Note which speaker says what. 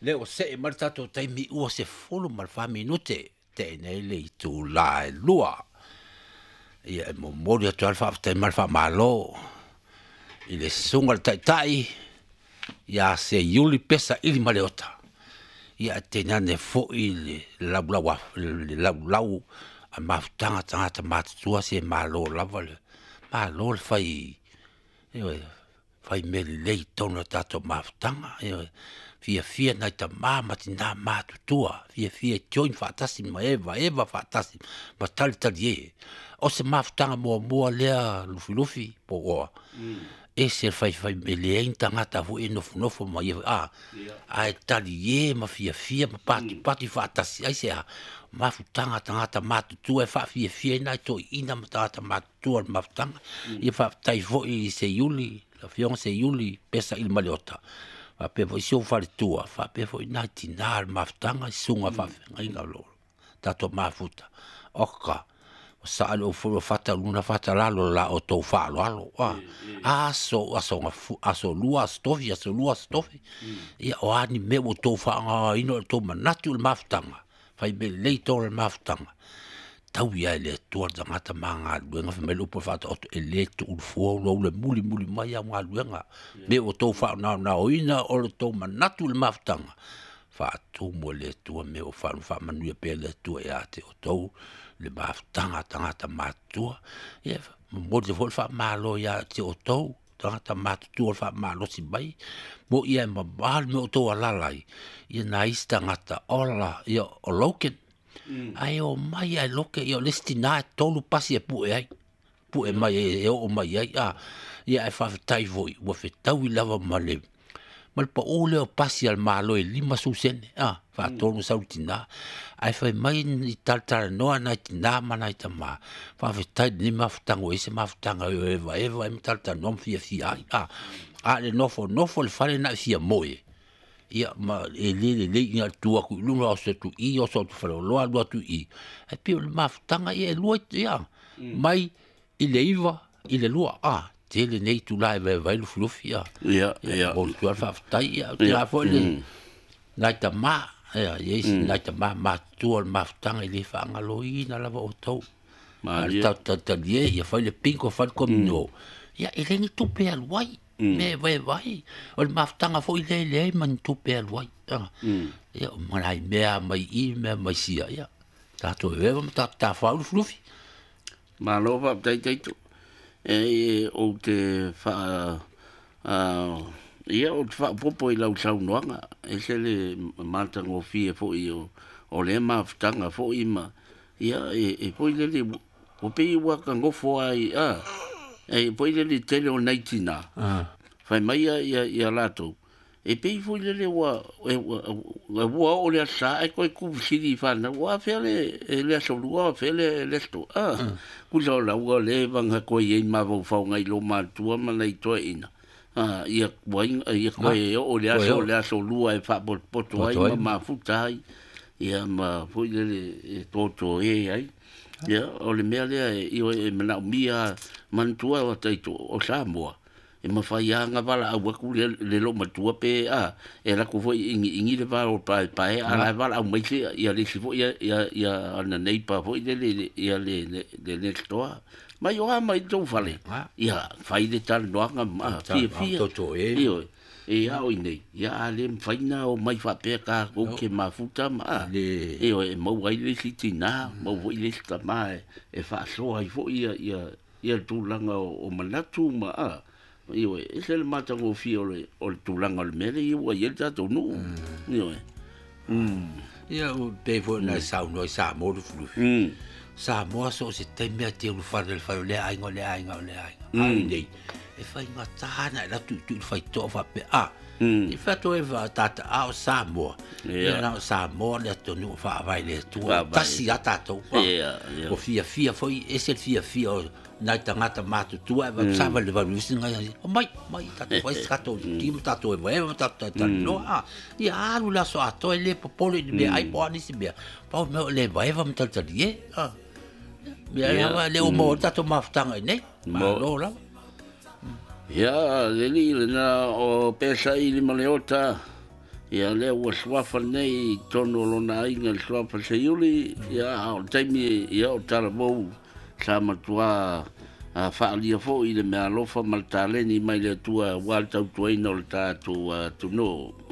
Speaker 1: Lea ua see mai le tatou taimi ua 14 minute tea nei le itula e 2. Ia e momoli atu ai le faafetai ma le faamalo i le susuga i le Taitai ia Seiuli Pesa Ilimaleota. Ia ae tainane foi le laulau a le laulau a mafutaga a tagata matutua se malo lava le malo le fai, ioe, fai mea lelei i totonu o le tatou mafutaga, ioe. Fiafia nai tama ma tina matutua, fiafia e join faatasi ma evaeva faatasi ma talitalie. O se mafutaga muamua lea Lufilufi po o ese le faifai e leai ni tagata foi e nofonofo ma ia a ae talie ma fiafia ma patipati faatasi ai sea mafutaga a tagata matutua e faafiafia ai nai toeaiina ma tagata matutua o le mafutaga. Ia faafetai foi i Seiuli, le afioga Seiuli Pesa Ilimaleota, faapea foi si ou faletua, faapea foi nai tina o le mafutaga, susuga faafeagaiga o lo o tatou mafuta. Oka, ua saali ou foi ua fata luna fata lalo la outou faaaloalo. Aso, aso, aso lua, aso tofi, aso lua, aso tofi. Ia, o a ni mea ua outou faaaogaina o le tou manatu i le mafutaga, fai mea lelei tonu le mafutaga, tau ia e le Atua le tagata ma galuega, fai mai le upu a le Faataoto, e le tuulufua lou le mulimuli mai au galuega. Me ua outou faanaonaoina o le tou manatu i le mafutaga, faatumu e le Atua mea ua faamanuia pea le Atua ia te outou le mafutaga a tagata matutua. Ia, momoli foi le faamalo ia te outou tagata matutua o le faamalosi mai, mo ia e mamao le mea o outou alaala ai, ia nai isi tagata ola, ia o Logan. Ae o mai ae loke, ia o le isi tina e 3 pasi e pue ai, pue mai e oo mai ai, a, ia ae faafetai foi, ua fetaui lava ma le pau lea o pasi a le Malo e 50 sene, a, faatonu sau le tina. Ae fai mai i talatalanoa nai tina ma nai tama, faafetai lenei mafutaga ua i ai se mafutaga e evaeva ai ma talatalanoa ma fiafia ai, a, a le nofonofo le fale na e fia moe, ia ma e le lelei ina tu atu i luga o se tu i o so tu faleoloa alu atu i i. Ae pei o le mafutaga ia e lua ia mai i le 9 i le 2, a, tele nei itula e vaevae lufilufi, a.
Speaker 2: Ia, ia.
Speaker 1: Mo le tua faafetai, ia, te la foi le nai tama, ia, ia isi nai tama matutua o le mafutaga i le faagaloina lava outou.
Speaker 2: Malie.
Speaker 1: Talie, ia fai le pinko, fai le komino. Ia, e le ni tupe alu ai. Me vaevae. O le mafutaga foi le leai ma ni tupe alu ai. Ia, o nai mea mai i, mea mai sia, ia. Tatou evaeva ma tatou tafau lufilufi.
Speaker 2: Malo faafetai Taito. E ou te faa ia ou te faapopo i lau saunoaga, e se le matagofie foi o lea mafutaga foi ma ia e foi lele ua pei ua kagofo ai a e foi lele tele o nai tina. Fai mai ia ia latou e pei foi lele ua ua o le asa e koe kufisili whanau, ua fea le le aso lua, fea le le aso a kusa o la ua le vanga koe i mawau whau ngai lo matua ma nei toe ina. A ia koe ia koe o le aso lua e whapopoto ai ma mafuta ai ia ma foi lele e toto e ai. Ia o le mea lea e e mana umia mantua o taito o Samoa. E mawhai anga wala au aku le lo matua pe a e lako foi ingi ingi le varo pae pae a la wala au mai se ia le si foi ia ia ana nei pa foi le le ia le le le toa mai o mai tau fale ia fai le tal noanga ma fia fia
Speaker 1: toto e
Speaker 2: io e au nei ia a le faina o mai fa pe ka ko ke mafuta ma e o e mau ai le sitina mau foi le tama e fa so ai foi ia ia ia tulaga o manatu ma a io e se le matagofia o le tulaga o le mea lea ua i ai le tatou nuu. Io e.
Speaker 1: Ia o pei foi nai saunoa i Samoa Lufilufi. Samoa so o se taimi a te ulufale le fale o lea aiga o lea aiga o lea aiga. Ai nei, e faigata na e latu i tu i le faitoa faapea, a, i whato e wha tata a o Samoa. Ia na o Samoa le atunuu faavae le Atua. Tasi a tatou. O fiafia foi, ese le fiafia o nai tagata matutua e sa vale vale usi ngai o mai mai tatou fai se tatou ti ma tatou evaeva ma tatou talanoa a ia alu le aso atoa e le popole i le mea ai po o a nisi mea pau mea o le evaeva ma talitalie a mea lava le o maua tatou mafutaga i nei malo lava.
Speaker 2: Ia leli lena o Pesa Ilimaleota. Ia lea ua suafa nei i totonu o lona aiga le suafa Seiuli, ia a o le taimi ia o talavou sa matuā faaalia foi le meaalofa ma le taleni mai le Atua aua le tautuaina o le tatou atunuu.